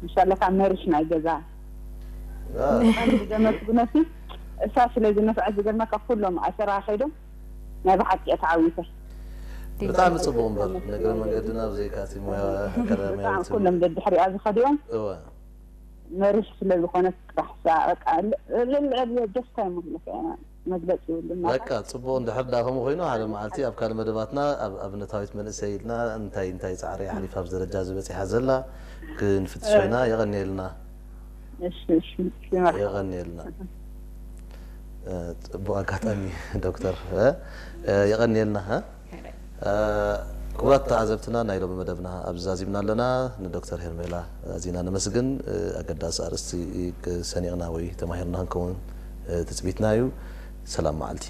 ምሻለካ መርሽ ናይ ገዛ። ኣነ ብዘመስግነሲ እሳ ስለ ዝነፍዐት ዝገርመካ ኩሎም ኣሰራ ከይዶም ናይ ብሓቂ እየ ተዓዊተ። ብጣዕሚ ጽቡቕ እምበር፣ ንእግረ መንገድና ብዘይካ እቲ ሞያ ኣካዳሚያዊ ብጣዕሚ ኩሎም ደድሕሪኣ ዝኸዲኦም እወ መርሽ ስለ ዝኾነት ጥራሕ እሳ በቃ ልዕሊ ዕብየ ደስታ ይምግለከ መግለፂ ይብሉና። በቃ ጽቡቕ። እንድሕር ዳ ከምኡ ኮይኑ ሓደ መዓልቲ ኣብ ካልእ መደባትና ኣብ ኣብነታዊት መንእሰይ ኢልና እንታይ እንታይ ጻዕሪ ኣሕሊፋ ኣብዚ ደረጃ ዝበጺሓ ዘላ ክንፍትሾ ኢና። የቐንየልና። እሺ እሺ እሺ መርሓባ። የቐንየልና። እ፣ ጽቡቕ ኣጋጣሚ ዶክተር፣ እ፣ እ፣ የቐንየልና፣ እ። እ፣ ክቡራት ተዓዘብትና፣ ናይ ሎሚ መደብና ኣብዚ ዛዚምና ኣለና። ንዶክተር ሄርሜላ ኣዚና ነመስግን። እ፣ ኣገዳሲ ኣርእስቲ ሰኒቕና ወይ ተማሂርና ክንከውን፣ እ፣ ትጽቢትና እዩ። ሰላም መዓልቲ።